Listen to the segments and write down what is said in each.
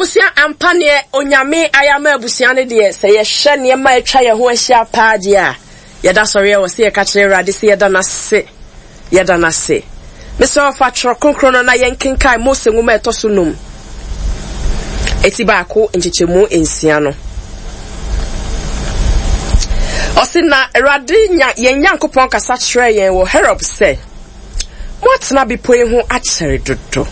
Abusua ampa neɛ Onyame ayɛ ama abusua no deɛ sɛ yɛhwɛ nneɛma a atwa yɛn ho ahyia paa deɛ a yɛda sɔreɛ wɔ sɛ yɛka kyerɛ Awurade sɛ yɛda no ase yɛda no ase. Mesrɛ wo fa twerɛ kronkron no na yɛnkenkan Mose nwoma a ɛtɔ so num eti baako nkyekyɛmu nsia no. Ɔse na Awurade yɛn Nyankopɔn kasa kyerɛɛ yɛn wɔ Horeb sɛ, Moatena bepɔ yi ho akyɛre dodo.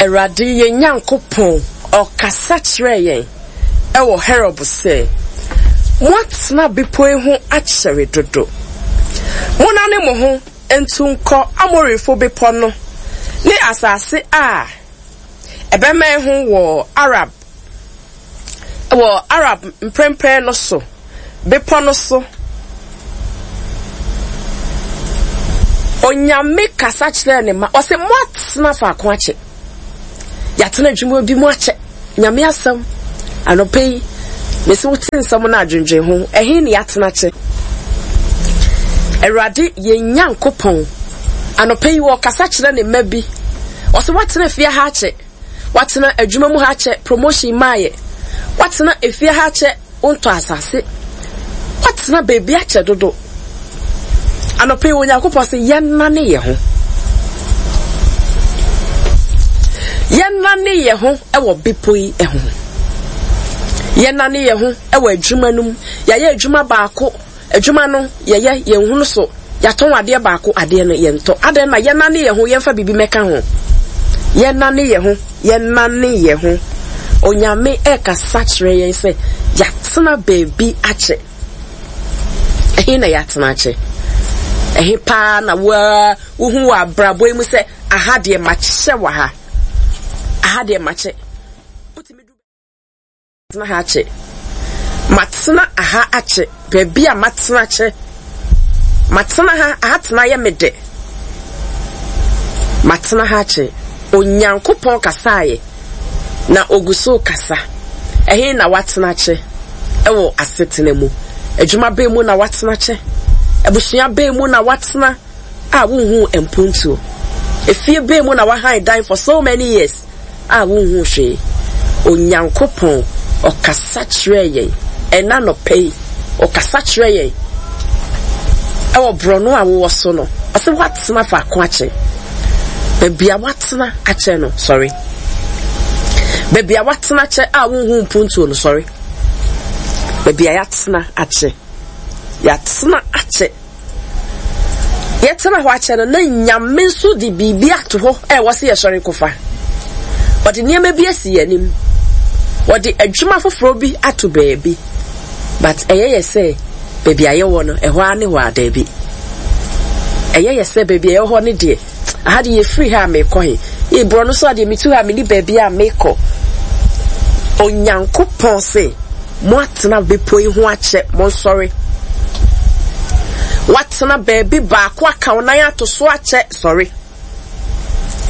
Awurade yɛn Nyankopɔn, ɔkasa kyerɛɛ yɛn wɔ Horeb sɛ, Moatena bepɔ yi ho akyɛre dodo. Monnane mo ho ntu nkɔ Amorifo bepɔ no ne asase a ɛbɛmɛn ho wɔ Arab wɔ Arab mprempren no so bepɔ no so. Onyame kasa kyerɛɛ ne ma ɔsɛ moatena faako akyɛ. Yɛatena adwuma bi mu akyɛ. Nyame asɛm anɔpa yi mesi wote nsɛm no adwendwen ho ɛhe ne yɛatena kyɛ. Awurade yɛn Nyankopɔn anɔpa yi wɔkasa kyerɛ ne mma bi ɔsɛ woatena fie ha akyɛ. Woatena adwuma mu ha akyɛ, promotion mmaeɛ. Woatena efie ha akyɛ, wontɔ asase. Woatena baabi akyɛ dodo. Anɔpa yi Onyankopɔn sɛ yɛnnane yɛn ho. Yɛnnane yɛn ho wɔ bepɔ yi ho. Yɛnnane yɛn ho wɔ adwuma no mu. Yɛayɛ adwuma baako. Adwuma no yɛyɛ yɛn hunu so yɛatɔn adeɛ baako adeɛ no yɛntɔ adɛn na yɛnane yɛn ho yɛmfa biribi mɛka ho yɛnane yɛn ho yɛnane yɛn ho Onyame ɛkasa kyerɛ yɛn sɛ yɛatena baabi akyɛ ɛhe na yɛatena akyɛ ɛhe paa na woa wohu wɔ abrabɔ yi mu sɛ aha deɛ makyɛ wɔ ha aha deɛ makyɛ wotumi du Matena ha akyɛ. Matena aha akyɛ. Baabi a matena akyɛ. Matena ha, aha tena yɛ me dɛ. Matena ha akyɛ. Onyankopɔn kasaeɛ, na ogu so kasa. Ɛhe na watena akyɛ wɔ asetena mu? Adwuma bɛn mu na watena akyɛ? Abusua bɛn mu na watena a wonhuu mpontuo? Efie bɛn mu na wahan dan for so many years? a wonhuu hwee. Onyankopɔn, ɔkasa kyerɛɛ yɛn ɛna anɔpa yi. Ɔkasa kyerɛ yɛn ɛwɔ borɔno a wowɔ so no. Ɔsɛ woatena faako akyɛ. Baabi a woatena akyɛ no, sɔre. Baabi a woatena akyɛ a wonhu mpuntuo no, sɔre. Baabi a yɛatena akyɛ. Yɛatena akyɛ. Yɛtena hɔ akyɛ no, na Nyame nso de biribi ato hɔ a ɛwɔ sɛ yɛsɔre kɔfa. Ɔde nneɛma bi asi yɛn anim. Ɔde adwuma foforɔ bi ato baabi. But ɛyɛ yɛ sɛ baabi a yɛwɔ no, ɛhɔ ara ne hɔ a, daabi. Ɛyɛ yɛ sɛ baabi a yɛwɔ hɔ no deɛ, aha deɛ yɛfiri ha a mekɔ he. Ee, borɔno so a deɛ metu ha a menni baabi a mekɔ. Onyankopɔn se, Moatena bepɔ yi ho akyɛ, monsɔre. Woatena baabi baako aka wo nan ato so akyɛ, sɔre.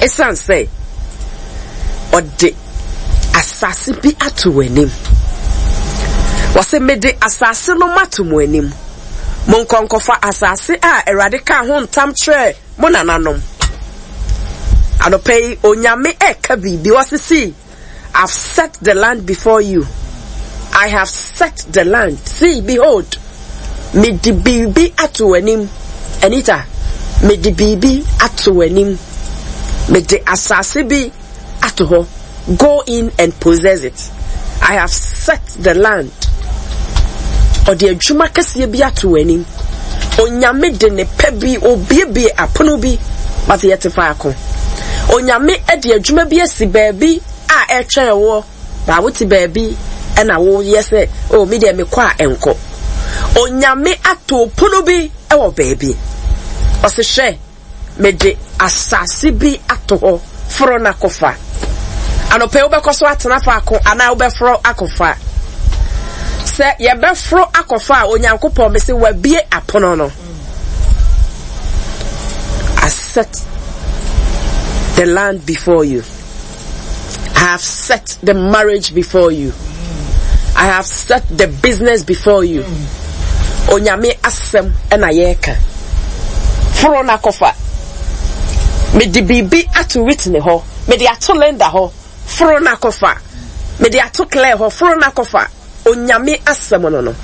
Esiane sɛ ɔde asase bi ato w'anim. Wɔse mede asase no mato mo anim. Monkɔ nkɔfa asase a Awurade kaa ho ntam kyerɛɛ mo nananom. Anɔpa yi, Onyame ɛka biribi, ɔse see, I've set the land before you. I have set the land. See, behold, mede biribi ato w'anim. Anita, mede biribi ato w'anim. Mede asase bi ato hɔ. Go in and possess it. I have set the land. Ɔde adwuma kɛseɛ bi ato w'anim. Onyame de ne pɛ bi, obiebie apono bi, but yɛte faako. Onyame de adwuma bi asi baabi a ɛretwɛn woɔ, but wote baabi ɛna woyɛ sɛ, oh, me deɛ mekɔ a ɛnkɔ. Onyame ato pono bi wɔ baabi. Ɔse hwɛ, mede asase bi ato hɔ, foro na kɔfa. Anɔpa yi wobɛkɔ so atena faako anaa wobɛforo akɔfa? Sɛ yɛbɛforo akɔfa a, Onyankopɔn mese wabie apono no. I set the land before you. I have set the marriage before you. I have set the business before you. Onyame asɛm na yɛreka. Foro na kɔfa. Mede biribi ato Whitney hɔ. Mede ato Linda hɔ. Foro na kɔfa. Mede ato clear hɔ, foro na kɔfa. Onyame asɛm no no,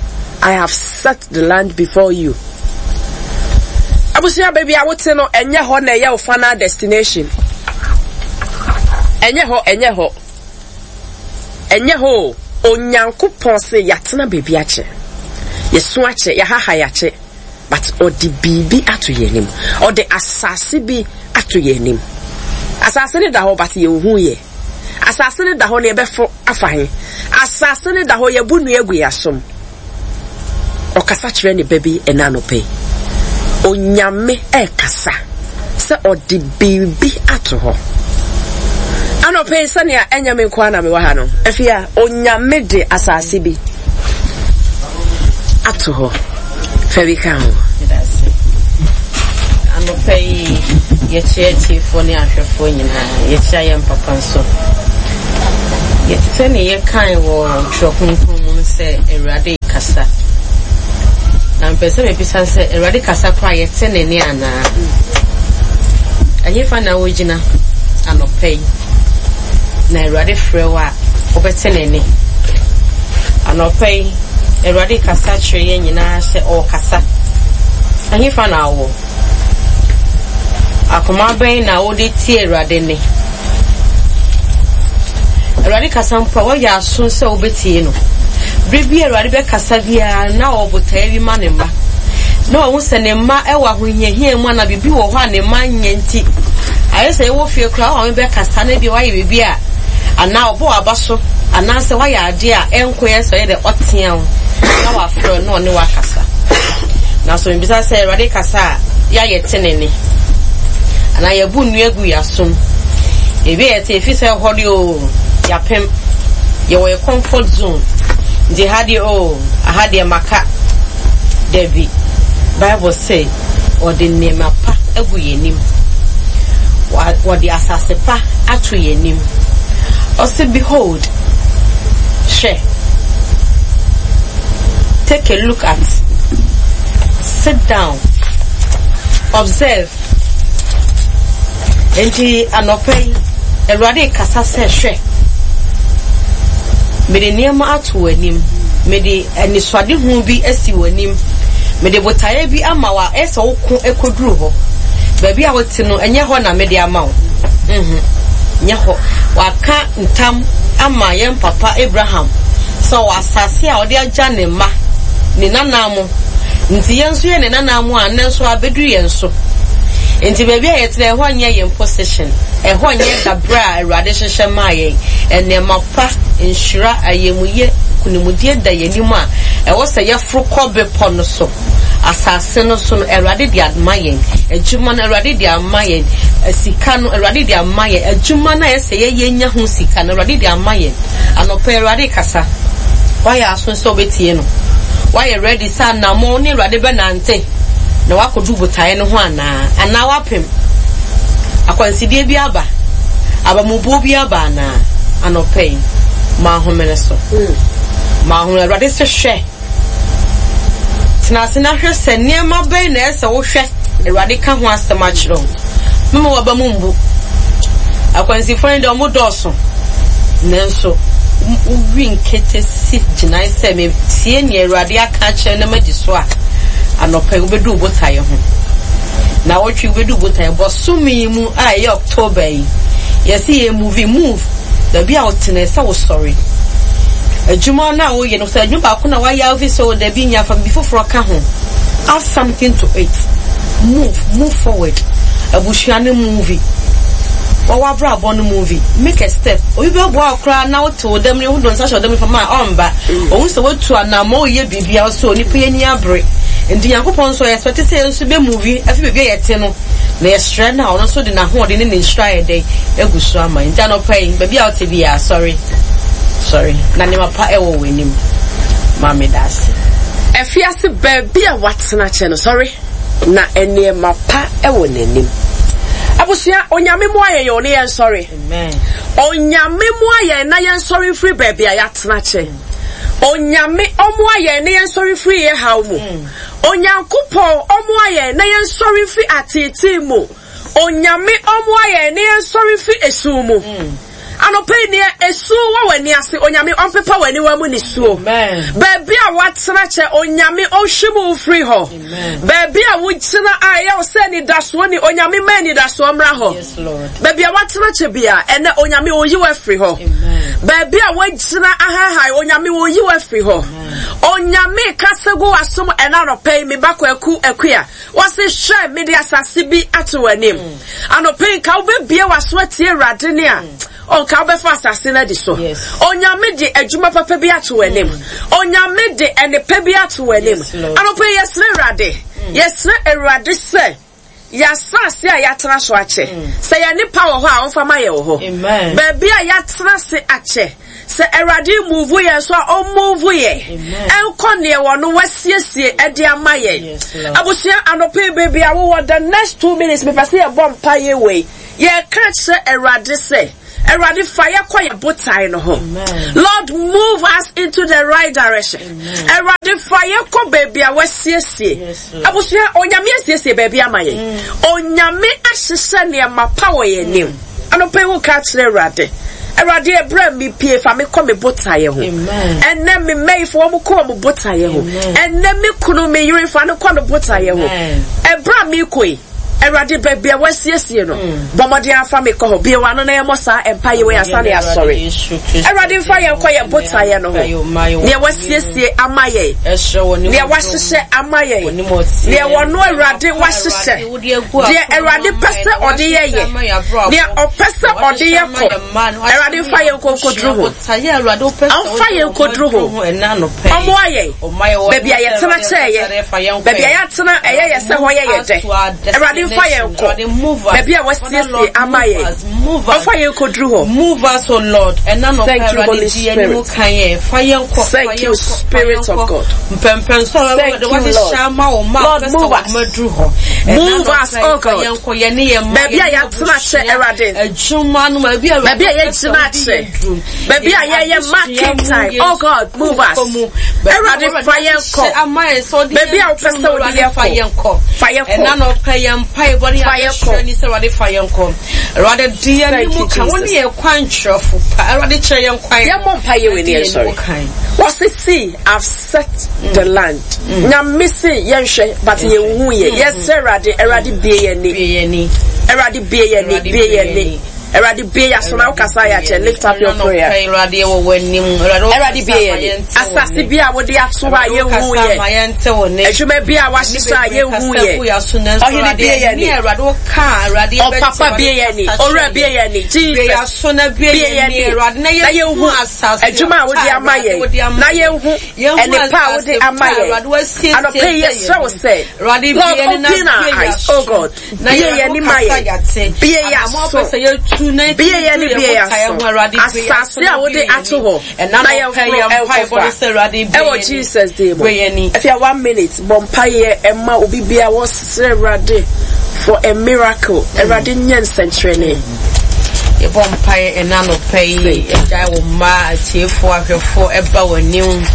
I have set the land before you. Abusua baabi a wote no, ɛnyɛ hɔ na ɛyɛ wo final destination. Ɛnyɛ hɔ, ɛnyɛ hɔ. Ɛnyɛ hɔ o. Onyankopɔn se yɛatena baabi akyɛ. Yɛso akyɛ, yɛahaha yɛakyɛ. But ɔde biribi ato yɛn anim. Ɔde asase bi ato yɛn anim. Asase no da hɔ but yɛnhu yɛ. Asase no da hɔ na yɛbɛfo afa he? Asase no da hɔ yɛbu nnua agu yɛn asom. Ɔkasa kyerɛ ne ba bi ɛna anɔpa yi. Onyame ɛrekasa sɛ ɔde biribi ato hɔ. Anɔpa yi sɛnea ɛnyɛ me nko ara na mewɔ ha no, afei a Onyame de asase bi ato hɔ. Fa bi ka ho. Anɔpa yi, yɛkyia atiefoɔ ne ahwɛfoɔ nyinaa. Yɛkyia yɛn papa nso. Yɛte sɛ ne yɛkae wɔ Twerɛ Kronkron mu no sɛ Awurade kasa. Na mepɛ sɛ mebisa sɛ Awurade kasa koraa yɛte ne nne anaa? Ɛhefa na wogyina anɔpa yi na Awurade frɛ wo a wobɛte ne nne? Anɔpa yi, Awurade kasa kyerɛ yɛn nyinaa sɛ ɔrekasa. Ɛhefa na wowɔ? Akoma bɛn na wode tie Awurade nne? Awurade kasa mpo a, woayɛ aso sɛ wobɛtie no. Bere bi a Awurade bɛkasa biara na ɔwɔ botaeɛ bi ma ne mma. Na wahu sɛ ne mma wɔ ahohiahia mu anaa biribi wɔ hɔ a ne mma nyɛ nti. Ayɛ sɛ yɛwɔ fie koraa, wo maame bɛkasa na ebia woayɛ biribi a anaa ɔbɔ w'aba so anaasɛ woayɛ adeɛ a ɛnkɔ yɛ sɛ ɔyɛ dɛ ɔtea wo na wafrɛ wo na ɔne wo akasa. Nanso mebisa sɛ Awurade kasa a, yɛ a yɛte ne nne? Anaa yɛbu nnua gu yɛn asom? Ebi a yɛte efi sɛ ɛhɔ deɛ oo, yɛapem. Yɛwɔ yɛ comfort zone. Nti ha deɛ oo, aha deɛ maka. Dabi. Bible se ɔde nneɛma pa agu yɛn anim. Wɔde asase pa ato yɛn anim. Ɔse behold, hwɛ. Take a look at, sit down, observe. Enti anɔpa yi, Awurade rekasa sɛ, Hwɛ, mede nneɛma ato w'anim, mede anisoadehu bi asi w'anim, mede botaeɛ bi ama wo a ɛyɛ sɛ woko kɔduru hɔ. Baabi a wote no, ɛnyɛ hɔ na mede ama wo. Mhm, nyɛ hɔ. Waka ntam ama yɛn papa Abraham sɛ ɔwɔ asase a ɔde agya ne mma, ne nananom. Nti yɛn nso yɛ ne nananom a nnɛ nso abɛduru yɛn so. Nti baabi a yɛtena ɛhɔ nyɛ yɛn position, ɛhɔ nyɛ dabrɛ a Awurade hyehyɛ maa yɛn. Nneɛma pa, nhyira, ayamuyɛ, nkunimdie da yɛn anim a ɛwɔ sɛ yɛforo kɔ bepɔ no so. Asase no so no, Awurade de ama yɛn. Adwuma no, Awurade de ama yɛn. Sika no, Awurade de ama yɛn. Adwuma no a ɛsɛ yɛyɛ nya ho sika no, Awurade de ama yɛn. Anɔpa yi, Awurade rekasa. Woayɛ aso sɛ wobɛtie no? Woayɛ ready sɛ anammɔn ne Awurade bɛnante na woakɔdu botaeɛ no ho anaa? Anaa woapem? Akwansideɛ bi aba? Abamubuo bi aba anaa? Anɔpa yi, ma ahomene so. Ma ahomene. Awurade se hwɛ. Tena ase na hwɛ sɛ nneɛma bɛn na ɛsɛ sɛ wohwɛ Awurade ka ho asɛm akyerɛ wo. Mma w'aba mu mmu. Akwansifo no deɛ, wɔdɔɔso. Nanso, wowi nkete si gyinae sɛ metie nea Awurade aka akyerɛ na madi so a, anɔpa yi wobɛdu wo botaeɛ ho. Naawɔtwe yi wobɛdu wo botaeɛ. Bosome yi mu a ɛyɛ October yi, yɛse yɛ move, move. Baabi a wote no, ɛsɛ sɛ wosɔre. Adwuma no a woyɛ no, sɛ adwuma baako na woayɛ a wofi sɛ o dabi nya fa biribi foforɔ ka ho. Add something to it. Move, move forward. Abusua no move. Wɔwɔ abrabɔ no move. Make a step. Obi bɛboa wo koraa na wote wo dam no, wode wo nsa hyɛ wo dam no fam a ɔmba. Ohu sɛ woatu anammɔn woyɛ biribi a ɔsɛ onipa yi ani abere. Nti Nyankopɔn nso ɔyɛ expect sɛ yɛn nso bɛ move afi baabi a yɛte no. Na yɛsrɛ no a ɔno nso de n'ahoɔden ne ne nhyira ayɛ dɛn agu so ama yɛn. Nti anɔpa yi, baabi a wote biara, sɔre, sɔre, na nneɛma pa ɛwɔ w'anim. Maame da ase. Afiase baabi a watena kyɛ no, sɔre, na nneɛma pa wɔ n'anim. Abusua, Onyame mmoa yɛn o, ne yɛn sɔre. Onyame mmoa yɛn na yɛn sɔre mfiri baabi a yɛatena kyɛ. Onyame ɔmmoa yɛn na yɛn sɔre mfiri yɛn haw mu. Onyankopɔn ɔmmoa yɛn na yɛn sɔre mfiri ateetee mu. Onyame ɔmmoa yɛn na yɛn sɔre mfiri esum mu. Anɔpa yi neɛ esu wɔ w'ani ase Onyame ɔmpepa w'aniwa mu nisuo. Baabi a woatena kyɛ Onyame ɔnhwim wo mfiri hɔ. Baabi a wogyina a ɛyɛ wo sɛ anidasoɔ ni Onyame ma anidasoɔ mmra hɔ. Baabi a woatena kyɛ bia ɛnɛ Onyame ɔyi wo afiri hɔ. Baabi a woagyina ahahae Onyame ɔyi wo afiri hɔ. Onyame kasa gu w'asom ɛnɛ anɔpa yi me ba Kwaku Akua. Wɔse hwɛ mede asase bi ato w'anim. Anɔpa yi nka wobɛbie w'aso atie Awurade ne a ɔnka wobɛfa asase no adi so. Onyame de adwuma papa bi ato w'anim. Onyame de ɛnepa bi ato w'anim. Anɔpa yi yɛsrɛ Awurade. Yɛsrɛ Awurade sɛ yɛasase a yɛatena so akyɛ. Sɛ yɛn nipa wɔ hɔ a ɔmfa ma yɛ wɔ hɔ. Baabi a yɛatena se akyɛ. Sɛ Awurade move yɛn so a, ɔmove yɛn ɛnkɔ neɛ wɔno wasiesie ɛde ama yɛn. Abusua anɔpa yi baabi a wowɔ the next 2 minutes mepɛ sɛ yɛbɔ mpa yɛ wei. Yɛka kyerɛ Awurade sɛ Awurade fa yɛ kɔ yɛ botae no ho. Lord, move us into the right direction. Awurade fa yɛ kɔ baabi a wasiesie. Abusua, Onyame asiesie baabi ama yɛn. Onyame ahyehyɛ nneɛma pa wɔ yɛn anim. Anɔpa yi woka kyerɛ Awurade. Awurade ɛberɛ a mepie fa me kɔ me botaeɛ ho. Ɛnɛ me mmayifo wɔn kɔ wɔn botaeɛ ho. Ɛnɛ me kunu me yere fa no kɔ no botaeɛ ho. Ɛberɛ a mekɔ yi Awurade baabi a wasiesie no bɔ mmɔden afa me kɔ hɔ. Bue w'ano na yɛmmɔ saa mpaeɛ wei ansa na yɛasɔre. Awurade mfa yɛn kɔ yɛn botaeɛ no ho. Nea wasiesie ama yɛn. Nea wahyehyɛ ama yɛn. Nea wɔno Awurade wahyehyɛ. Deɛ Awurade pɛ sɛ ɔde yɛ yɛ. Nea ɔpɛ sɛ ɔde yɛ kɔ. Awurade mfa yɛn nkɔ nkɔduru ho. Ɔmfa yɛn nkɔduru ho. Ɔmmoa yɛn. Baabi a yɛtena kyɛɛyɛ. Baabi a yɛatena ɛyɛ yɛ sɛ hɔ yɛ yɛ dɛ. Awurade mfa yɛn nkɔ. Baabi a wasiesie ama yɛn. Ɔmfa yɛn nkɔduru hɔ. Move us, O Lord. Thank you, Holy Spirit. Thank you, Spirit of God. Thank you, Lord. Lord, move us. Move us, oh God. Baabi a yɛatena kyɛ Awurade. Baabi a yɛgyina akyɛ. Baabi a yɛyɛ marking time. Oh God, move us. Awurade fa yɛn kɔ. Baabi a wopɛ sɛ wode yɛn kɔ. Fa yɛn kɔ. Fa yɛn kɔ. Awurade di yɛn anim kan. Wo ne yɛn kwan kyerɛfo pa. Awurade kyerɛ yɛn kwan. Yɛn mɔ mpa yɛ wɔ ni yɛn sɔre. Wɔsi see I've set the land. Nyame se yɛn hwɛ but yɛn hu yɛ. Yɛsrɛ Awurade, Awurade bie yɛn ni. Awurade bie yɛn ni, bie yɛn ni. Awurade bie yɛn aso na wokasa yɛ akyɛ. Lift up your prayer. Awurade wɔ w'anim. Awurade bie yɛn ni. Asase bi a wode ato hɔ a yɛnhu yɛ. Adwuma bi a wahyehyɛ a yɛnhu yɛ. Ɔhene bie yɛn ni. Ɔpapa bie yɛn ni. Owura bie yɛn ni. Jesus bie yɛn ni. Na yɛnhu adwuma a wode ama yɛn. Na yɛnhu ɛnepa a wode ama yɛn. Anɔpa yi yɛsrɛ wo sɛ, Lord, open our eyes, oh God. Bie yɛn ani ma yɛn. Bie yɛn aso. Bie yɛn ani bie yɛn aso. Asase a wode ato hɔ na yɛmforo nkɔfa. Ɛwɔ Jesus din mu. Afei one minute bɔ mpaeɛ ɛma obi bia wɔsrɛ Awurade for a miracle. Awurade nyɛ nsɛnkyerɛnne. Yɛbɔ mpaeɛ ɛna anɔpa yi, agyae wo mma atiefoɔ ahwɛfoɔ ɛba w'anim.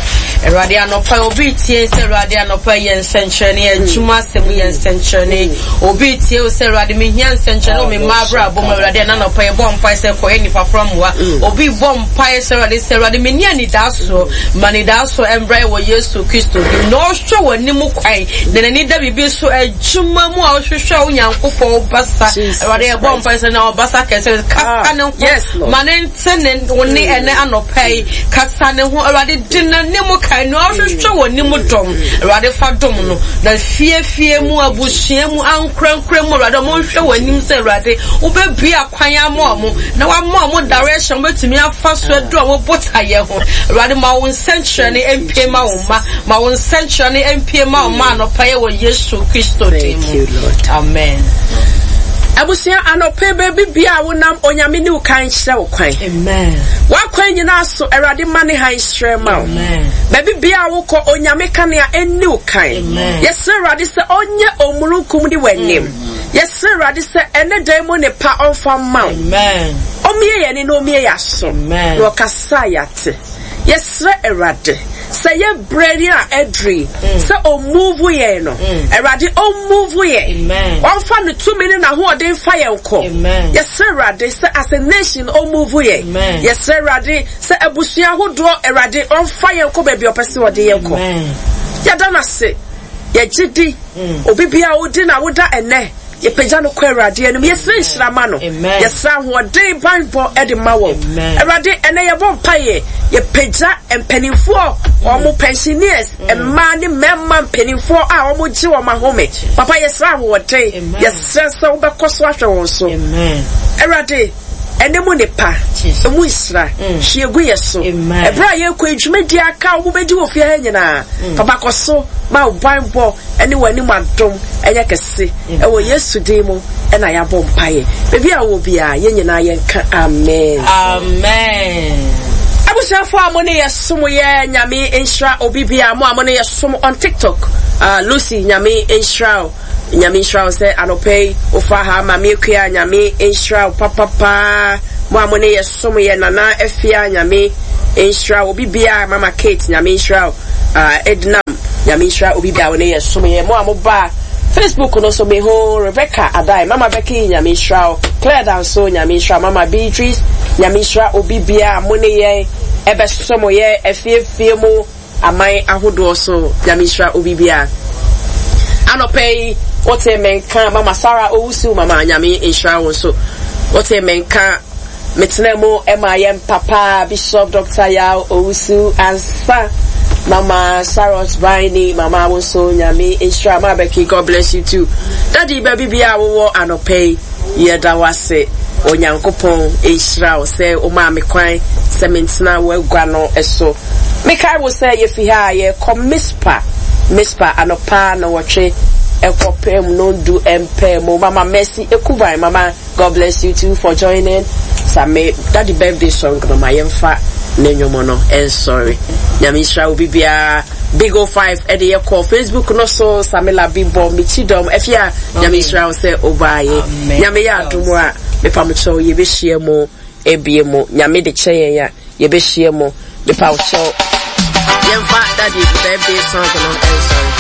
Awurade anɔpa yi obi tie sɛ Awurade anɔpa yi yɛ nsɛnkyerɛnne, adwuma asɛm yɛ nsɛnkyerɛnne. Obi tie wo sɛ Awurade mehia nsɛnkyerɛnne wɔ me mma abrabɔ mu. Awurade ɛna anɔpa yi yɛbɔ mpaeɛ sɛ kɔyɛ nnipa korɔ mmoa. Obi bɔ mpaeɛ sɛ Awurade sɛ Awurade menni anidaasoɔ, ma anidaasoɔ ɛmbra yɛ wɔ Yesu Kristo din mu. Na ɔhwɛ w'anim kwan na n'ani da biribi so adwuma mu a ɔhwehwɛ wo Nyankopɔn wo basa. Awurade yɛbɔ mpae sɛ na ɔbasa kɛse kasa ne ho ma ne nte ne wo ne ɛnɛ anɔpa yi kasa ne ho Awurade di n'anim kan na ɔhwehwɛ wɔ ne mu dɔm Awurade fa dom no na fie fie mu abusua mu ankorankora mu Awurade ɔmo nhwɛ wɔ anim sɛ Awurade wobɛbue akwan ama ɔmo na wama ɔmo direction wobɛtumi afa so adu ɔmo botaeɛ ho Awurade ma wo nsɛnkyerɛnne mpie ma wo mma ma wo nsɛnkyerɛnne mpie ma wo mma anɔpa yi wɔ Yesu Kristo din mu. Amen. Abusua anɔpa yi baabi bia a wonam Onyame ne wo kan nkyerɛ wo kwan. Amen. W'akwan nyinaa so Awurade ma ne hann nhyerɛn ma wo. Baabi bia a wokɔ Onyame kanea ɛnni wo kan. Yɛsrɛ Awurade sɛ ɔnyɛ omununkum ne w'anim. Yɛsrɛ Awurade sɛ ɛne dan mu ne pa ɔmfa mma wo. Ɔmmie yɛn ani na ɔmmie yɛn aso. Na ɔkasa a yɛate. Yɛsrɛ Awurade. Sɛ yɛ berɛ ni a aduri sɛ ɔmove yɛn no, Awurade ɔmove yɛn. Ɔmfa ne tumi ne n'ahoɔden mfa yɛn nkɔ. Yɛsrɛ Awurade sɛ as a nation ɔmove yɛn. Yɛsrɛ Awurade sɛ abusua ahodoɔ Awurade ɔmfa yɛn nkɔ baabi a ɔpɛ sɛ ɔde yɛn kɔ. Yɛda no ase. Yɛgye di. Obi biara a ɔdi n'awoda ɛnnɛ, Yɛpagya no kɔ Awurade anim. Yɛsrɛ nhyira ma no. Yɛsrɛ ahoɔden banbɔ de ma wɔn. Awurade, ɛnɛ yɛbɔ mpaeɛ. Yɛpagya mpanimfoɔ, wɔn pensioners, mmaa ne mmarima mpanimfoɔ a wɔgye wɔn ahome. Papa, yɛsrɛ ahoɔden. Yɛsrɛ sɛ wobɛkɔ so ahwɛ wɔn so. Awurade, ɛnɛ mu nnepa, ɛmu nhyira, hwie gu yɛ so. Ɛberɛ a yɛrekɔ yi, dwumadie aka a wɔbɛdi wɔ fie ha nyinaa, Papa kɔ so ma wo banbɔ ne w'anim adom nyɛ kɛse. Ɛwɔ Yesu din mu na yɛabɔ mpaeɛ. Baabi a wowɔ biara, yɛn nyinaa yɛnka amen. Amen. Abusuafoɔ a mo ne yɛ som yɛ Nyame nhyira obi biara mo a mo ne yɛ som on TikTok. Lucy Nyame nhyira wo. Nyame nhyira wo sɛ anɔpa yi wofa ha Maame Akua Nyame nhyira wo papapaa. Mo a mo ne yɛ som yɛ Nana Afia Nyame nhyira wo obi biara Mama Kate Nyame nhyira wo. Ah Ednam Nyame nhyira obi bia wo ne yɛ som yɛ mo a mo ba Facebook no so me ho Rebecca Adai Mama Becky Nyame nhyira wo Claire Danso Nyame nhyira wo Mama Beatrice Nyame nhyira obi bia mo ne yɛn ɛbɛ som yɛ afie fie mu aman ahodoɔ so Nyame nhyira obi bia anɔpɛ yi wote me nka Mama Sarah Owusu Mama Nyame nhyira wo nso wote me nka Metenaa mu maa yɛn papa Bishop Doctor Yaw Owusu Ansah, Mama Charlotte Biney, Mama wo nso Nyame nhyira Ma Becky, God bless you too. Daddy baabi biara wowɔ anɔpa yi, yɛda wo ase. Onyankopɔn nhyira wo sɛ womaa me kwan sɛ mentena w'agua no so. Mekae wo sɛ yɛfi ha a yɛrekɔ Mispa, Mispa anɔpa nnɔnwɔtwe kɔpem nnɔndu mpaa mu. Mama Mercy Ekuban, Mama God bless you too for joining Same daddy birthday song no ma yɛmfa ne nnwom no nsɔre. Nyame nhyira obi biara. Big O 5 ɛde yɛ kɔ Facebook no so Same Labi bɔ mekyi dɔm afia Nyame nhyira wo sɛ obaayɛ. Nyame yɛ adom a mepamokyɛw yɛbɛhyia mu ebie mu. Nyame de kyɛ yɛn a yɛbɛhyia mu mepawokyɛw. Yɛmfa daddy birthday song no nsɔre.